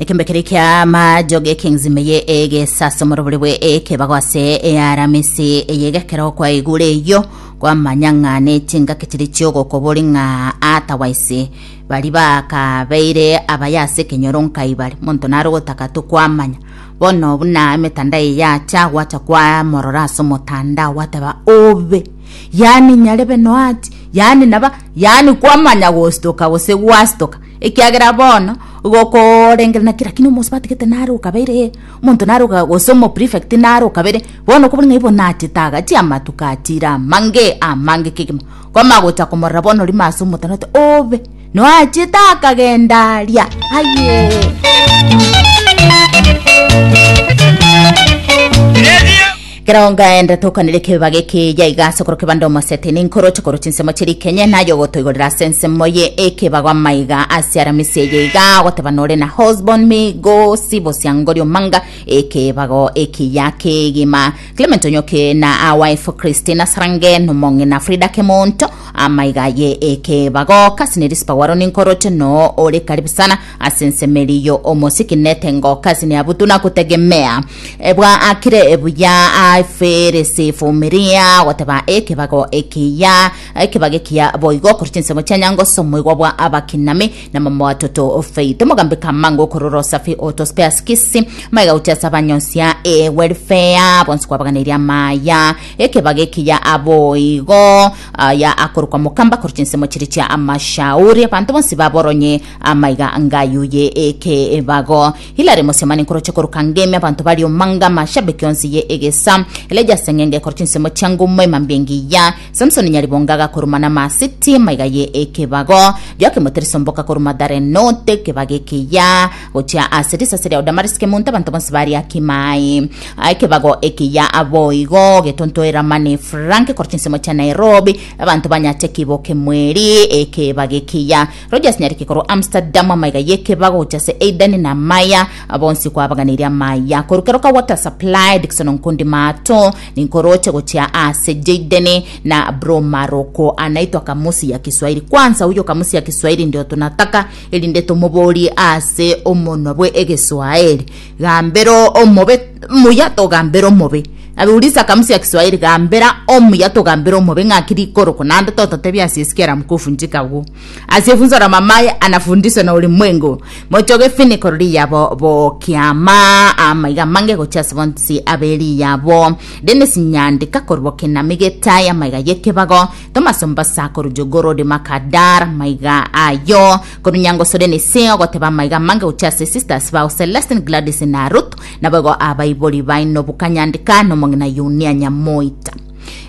Ekembe keria kia majoge ekeng'zima eye egesasomoro bore bwe ekebago ase earamisi eye gekero kwaigure eyio kwamanya ng'a ne chingaki chiria chiogokobori ng'a atawaisi bari bakabeire abaya ase ekenyoro nkai bare monto nare ogotaka tokwamanya bono buna emetandao eye yacha gwacha kwamorora ase omotandao gwateba obe yaani nyarebe noachi yaani naba yaani kwamanya gostoka gose gwastoka Ekiagera bono gokorengerera naki lakini omosubati gete nare okabeire ee, omonto nare oka gose omoprefect nare okabeire, bono okobora ng'a igo nachete agachia amatuko achire amange amange kegima. Kwamanya gocha komorora bono rimo ase omotandao oti obe, noachete akagenda aria ayee. Kero ngaenda tokanire ekebiba gekiya iga ase okoro kebande omosete ninkoroche korwa chinsemo chiria ikenye naye ogotoigorera ase ensemo ye ekebago amaiga ase aramisi eye iga ogoteba nore na Hosbon migo sibo siangori omanga ekebago ekiya kegima Clement Onyoke na a wife Christina Sarange nomong'ina Frida Kemonto amaiga ye ekebago kasi ne Rispa Waro ninkoroche no ore karibu sana Ase ensemo eria yo omosiki netengo kasini abutu na kutegemea ebwa akire buya aferesi fumiria goteba ekebago ekiya ekebago ekiya boigo korwa chinsemo chia nyangoso omoigwa bwa abakinami na mama watoto Faith omogambi Kamango okorora osafi oto spares kisi maiga gochia ase abanyonsia e welfare bonsi kwabaganeirie amaya ekebago ekiya aboigo aya akorokwa mokamba korwa chinsemo chiria chia amashauri abanto bonsi baboronye Amaiga ngayuye ekebago. Hilary Mosemani nkoroche koruka ngemi abanto bari omanga amashabiki onsi ye egesa. Elijah Seng'enge kor chinsemo chia ngumo emambia engiya. Samson Nyaribonga agakoruma na masiti maiga ye ekebago. Joakim Muteriso Mboka korwa Mathare North ekebago ekiya gochia ase risase ria Damaris Kemunto abanto bonsi bari Akimai. Ekebago ekiya aboigo Getonto Eramani Frank kor chinsemo chia Nairobi abanto banyache kibo kemweri ekebago ekiya. Rogers Nyariki korwa Amsterdam amaiga y'ekebago gochia ase Aidan na Maya bonsi kwabaganeirie amaya korwa keroka water supply Dickson Nkundi Mato ninkoroche gochia ase Jayden na bro Maroko anaitwa kamusi ya Kiswahili kwanza huyo kamusi ya Kiswahili ndio tunataka erinde tomoborie ase omonwa bwe egeswahili gambera omobe muya togambera omobe Uliza kamusi ya Kiswahili gambera omuya togambera omobe ng'aki rikorokwa naende tototebia asiyesikia la mkufu njikagu Asiyefunzwa na mamaye anafundishwa na ulimwengu. Mochoge finiko riyabo bokiama amaiga mange gochia ase bonsi abe riyabo. Dennis Nyandika korwa Kinami Getaya maiga yekebago. Thomas Ombasa korwa Jogoo Road Makadar maiga ayo. Korwa Nyangoso Dennis ogoteba maiga mange gochia ase sisters bao Celestine Gladys na Ruth naboigo abaibori baino Bukanyandika nomong'ina Yunia Nyamoita.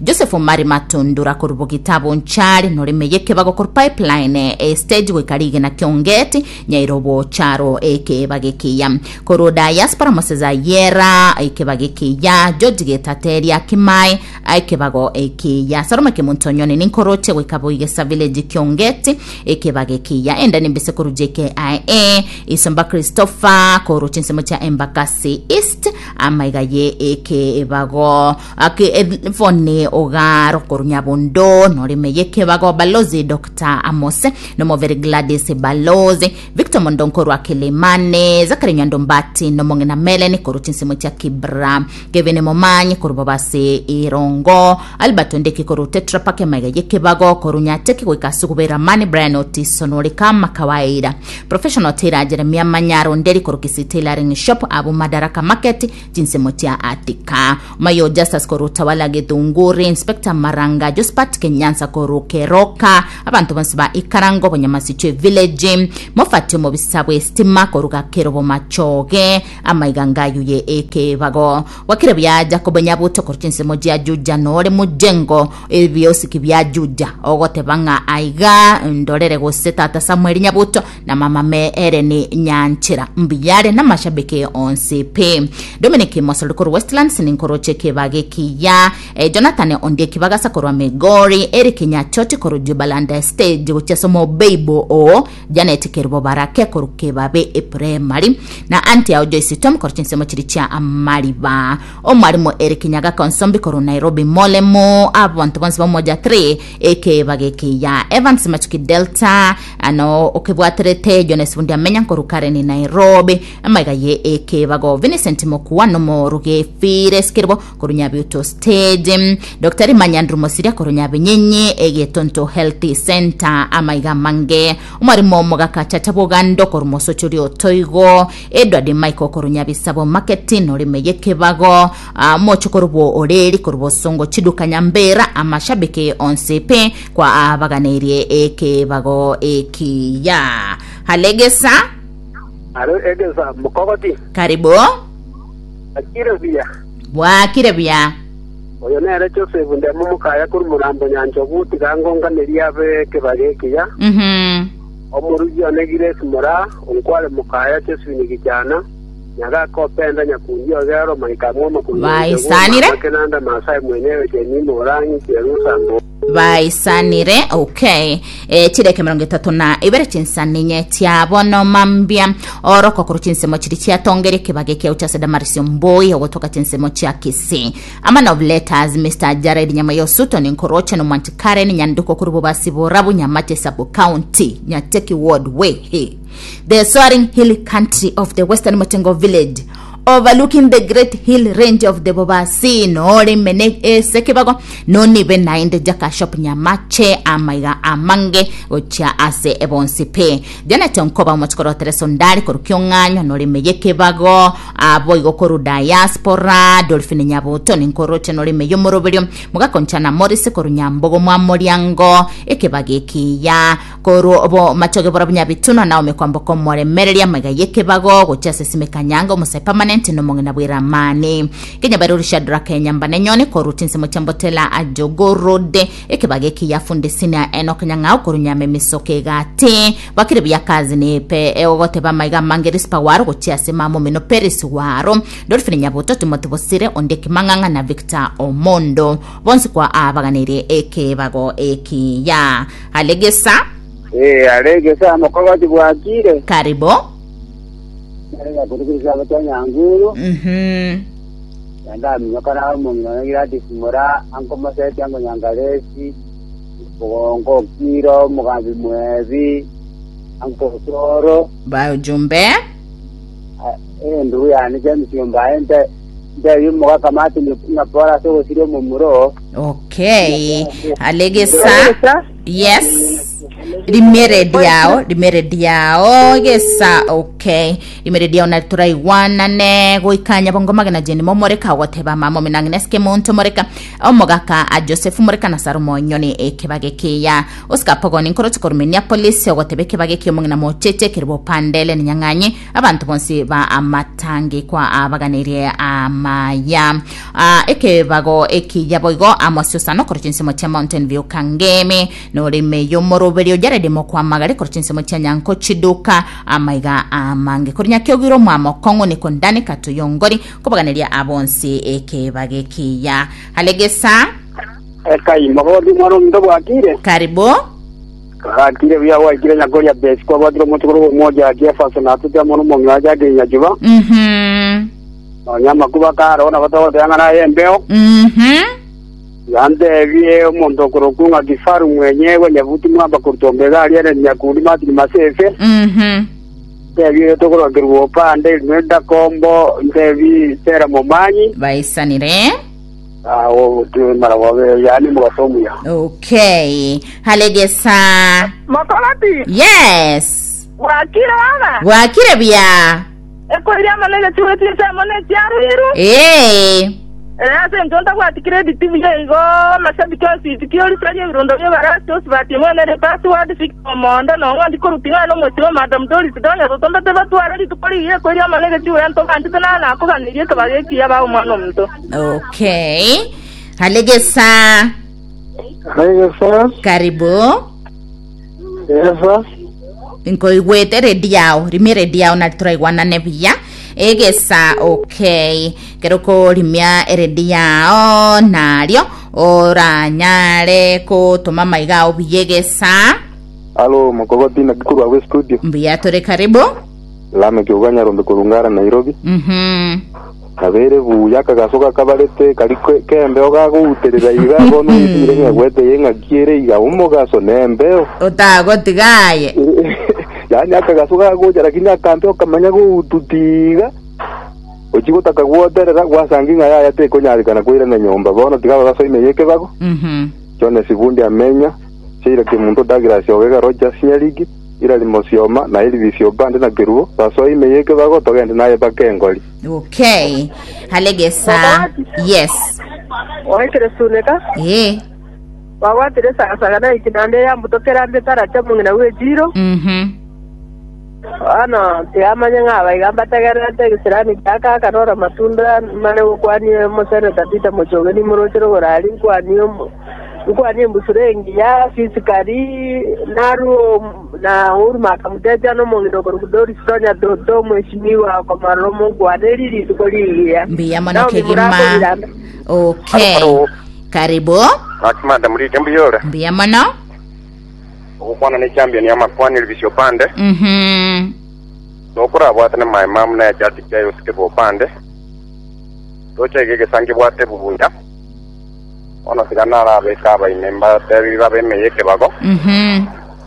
Joseph Omari Matundura korwa Bogita Bonchari noreme yekebago korwa pipeline e stage goika rigena Kiongeti Nyairobo Charo ekebago ekiya korwa diaspora Moses Ayera ekebago ekiya George Getateria Kimai ekebago ekiya Salome Kemunto Nyoni ninkoroche goika Boigesa Village Kiongeti ekebago ekiya enda nimbise korwa JKIA Isomba Christopher korwa chinsemo chia Embakasi East amaiga ye ekebago Ake Evone Ogaro korwa Nyabondo norime yekebago Balozi Dr. Amos nomovere Gladys Balozi Victor Mondo nkorwa Kilimani Zakari Nyando Mbati nomong'ina Melen korwa chinsemo chia Kibra Kevin Momanyi korwa Bobasi Irongo Albert Ondeki korwa Tetra Pak emaiga yekebago korwa Nyateki goika ase okobera Mani Brian Otiso nore kama kawaida Professional Tailor Jeremia Manyaro Nderi korwa Kisii Tailoring Shop abu Madaraka Market chinsemo chia Atika Mayo Justus korwa Utawala Githunguri, Inspector Maranga Jospat Kenyansa korwa Keroka, abanto bonsi ba Ikarango Bonyamasichwe Village, Mofati omobisa bw'estima korwa Gakerobo Machoge, amaiga ngayuye ekebago. Gwakire buya Jacob Nyabuto korwa chinsemo chia Juja nore mujengo ebiosiki bia Juja ogoteba ng'a aiga ndorere gose tata Samuel Nyabuto na mama me Ellen Nyanchera mbuyare namashabiki onsi pi. Dominic Mosori korwa Westlands ninkoroche ekebago ekiya. Eh, Jonathan. Jonathan Ondieki Bagasa korwa Migori, Eric Nyachoti korwa Jubaland Stage gochia ase omobeibo oo Janet Kerubo Barake korwa Kebabe Eprimary na Aunty yao Joyce Tom korwa chinsemo chiria chia Amariba. Omwalimu Eric Nyagaka Onsombi korwa Nairobi Molemo abanto bonsi ba Umoja 3 ekeba gekiya Evans Machuki Delta ano okebwaterete Jones Bundi Amenya korwa Karen Nairobi amaiga ye ekebago Vincent Mokua nomoruge Fires Kerubo korwa Nyabiuto Stage Dr. Manyandru Mosiria korwa Nyabinyenyi Egetonto Health Center amaiga amange Omwarimu omogaka Chacha Bogando korwa Mosochori Otoigo Edward Michael korwa Nyabisabo Market norime yekebago ah, mochokoro bwo Oreri korwa Bosongo Chiduka Nyambera amashabiki onsi pi kwa abaganeirie ekebago ekiya Halegesa Aro egesa mokogoti karibu akire buya. bwakire buya Oyo nere Joseph ndemo mokaya korwa morambo nyanchogu tiga ngonganerie abe ekebago ekiya. Omorugi one Grace Moraa, onkware mokaya Josephine Gichana, Nyagaka Openda Nyakundi Ogero, Maika Mwoma korwa Nyanchogu, Baisanire. Mama Kenanda Masai mwenyewe Jemima Orangi Jerusa Mbo. Baisanire okay e, chideke 32 chinsaninye chia bono mambia oroko korwa chinsemo chiri chiatongeria ekebage kiao chia Damaris Mboi ogotoka chinsemo chia Kisii A man of letters Mr Jared Nyamayo Sutton Nkoroche no Mwanchi Karen Nyanduko korwa Bobasi Borabu Nyamache Sub County Nyateki Ward Wehe The soaring hill country of the Western Motengo village overlooking the great hill range of the Bobasi nore mene ese kebago nonibe naende jaka shop Nyamache amaiga amange gochia ase ebonsi pe Janet Onkoba omochikoro Teresa Ondari korwa Kiong'anyo nore meye kebago Aboigo korwa diaspora, Dolphine Nyabuto ninkoroche norime y'omoroberio, mogakonchana Morris korwa Nyambogo mwa Moriango, ekebago ekiya korwa bo machoge bora Bunyabitunwa Naomi Kwamboka omoremereria amaiga y'ekebago gochia ase Simeka Nyango omosae permanent nomong'ina bw'eramani Kenya Baruri Shadrack Nyambane Nyoni korwa chinsemo chia Mbotela Ajogo Road ekebago ekiya Fundi Senior Enock Nyang'au korwa Nyamemisoke Egati Bakire buya kazi nipe egoteba amaiga amange Rispa Waro gochia ase mama omino Peris Waro, Dolphine Nyabuto, Timothy Bosire, Ondieki Mang'ang'a na Victor Omondo. Bonsi kwa abaganeirie ekebago ekiya. Alegesa. Eh, alegesa mokogoti bwakire. Karibu. Narega kurukurisa abacha nyanguru. Yandaminyokana omong'ina one Gladys Mura, Uncle Moseti, Uncle Nyangaresi. Bogongo Okiro, omogambi Mwebi, Uncle Osoro, Baujumbe. endugu yane James Ombae, nte ntebi omogaka Martin ng'a pore ase ogosiria omomura oo. Okay. Alegesa. Yes. Rimere yao, rimere yao gesa okay. Rimere yao na turaigwanane goika nyabongo magena jeni momoreka ogoteba mama ominang'ina esike monto moreka Omogaka a Joseph Moreka na Salomo Nyoni ekebage kiya. Oscar Pogoni nkoroche korwa Minneapolis ogoteba ekebage kia omong'ina mocheche kerwa opande Ellen Nyang'anyi abanto bonsi ba amatangi kwa abaganeirie amaya. Ah, ekebago ekiya boigo Amos Osano korwa chinsemo chia Mountain View Kangemi norime yomoroberio Jared Mokwamagare korwa chinsemo chia Nyanko Chiduka amaiga amange korwa Nyakiogiro omwamo Kong'u Nikondani Katuyongori Kobaganeria abonsi ekebage ekiya. Alegesa. Ekai, mogoti mwana ominto bwakire? Karibu. Gakire buya gwaikire nyakoria besi kwabwatire omochokoro bw'omoja Jefferson atete amo nomong'ina wa Jacqueline Nyachuba. Nonya amakuba kare nabo togoteba ng'a naye embeo. Yantebie omonto okorokwa ng'a Kifaru mwenyewe Nyabuti mwamba korwa Ombega aria ere Nyakundi Martin Masese. Ntebi oyo tokorokerwa opande Imelda Kombo, ntebi Sera Momanyi. Baisanire. Awo mara wabe yani mugaso omuya. Okay. Halegesa. Mokoroti, Yes. bwakire baba? Bwakire buya. Ekoiria amo negechugo chinsemo ne chiaruiru. Ee. Ere ase inche ntabwati credit buya igo amashabiki onsi isiko orisarie ebirondo bi'ebarasi osibati mwene ere password Victor Omondo nong'o ndi korwa ting'ana omochie o Madam Doris Donya totombete batware rituko rigiya ekoiria amo negechugo entobanchete naro nakoganirie ekebago ekiya bae omwana omonto. Okay. Halegesa. Halegesa. Karibu. Esa. Nkoigwete redio yao rimia redio yao nari turaigwanane buya egesa okay kero korimia eredio yao nario. Oranyare kotoma amaiga ao buya egesa. Alo, mokogoti naki korwa agwo estudio? Mbuya tore karibu. Lameki ogo Nyarombe korwa Ngara Nairobi. Nabeire buya akagaso gakabarete kari k'embeo gagouterera iga bono oigure ng'a egwete eye ng'aki ere iga omogaso nembeo. Otagotiga aye. Yaani akagaso gagocha lakini akambeo kamanya goututi iga ochia gotaka gwoterera gwasangi ng'a yaya tekonyarekana koirana nyomba bono tiga abagaso ime y'ekebago. Jones Bundi Amenya, Sheila Kemunto Douglas Ogega Rogers Nyarigi, Hilary Mosioma, na Elvis Obande na Kerubo, basoe ime y'ekebago togende naye mpaka engori. Okay. Halegesa. Yes. Oekire suneka, Eh. bagwatire esagasaga na ekinanda eyambutokera mbe taracha omong'ina bw'echiiro. Bono tiyamanya ng'a abaiga mbategererete egesirani gia kaka noro amatunda mare gokwania omoseneta Peter Mochoge nimoroche rogoro aria nkwanie omo nkwanie embusuro engiya fisikari narue na Uhuru Makamutetia na omong'ina okorokwa Doris Tonya Toto omweshimiwa okomarora omonkwaneri rituko rigiya. Mbuya mono Naomi kegima. Murako Biranda. Okay. Alo. Karibu. Gaki madam Rita mbuya ore? Mbuya mono. Ogokwana ne champion y'amakwana Elvis Opande. Nokorabwatane my mum na echati kia Yosike Opande. Tocha iga egesangi bwate bubuya. Bono tiga narabeke abaime mbatebi babe ime y'ekebago.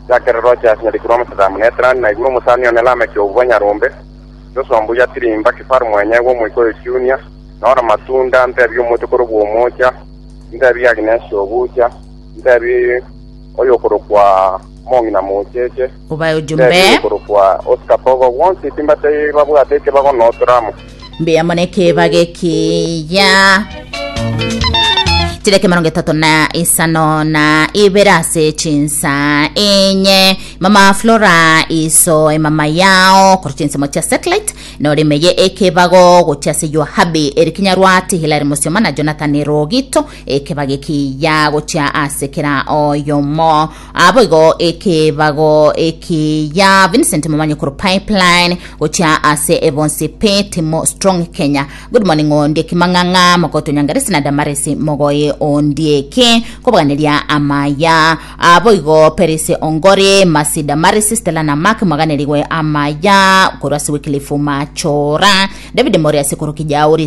Chakere roche ase nyarikuru omosacha muneterani naigure omosani one Lameki obwo Nyarombe. Joshua mbuya tirimba kifaru mwenyegwa omoika oyo Junior. Nora matunda ntebi omochokoro bw'omocha. Ntebi Agnes obucha. Ntebi oyokorokwa Mong'ina Mocheche, Obae ojumbe. ntebi oyokorokwa Oscar Bogo, bonsi timbatei babwate ekebago notoramo. Mbuya mono ekebago ekiya chidakika emerongo etato na isano na ibere ase chinsa enye mama flora iso emama yao korwa chinsemo chia satellite norimeye ekebago gochia ase your hubby Eric Nyarwati Hilary Musioma na Jonathan Rogito Ekebago ekiya gochia ase kera oyomo. Aboigo ekebago ekiya Vincent Momanyi korwa Pipeline gochia ase ebonsi pe Timo Strong Kenya. Good morning Ondieki Mang'ang'a Mokoto Nyangaresi na Damaresi Mogoye Ondieki kobaganeria amaya. Aboigo Perisi Ongori Masi Damaresi Stella na Mark mwaganerigwe amaya korwa ase Wycliffe Machora David Moriasi korwa Kijauri.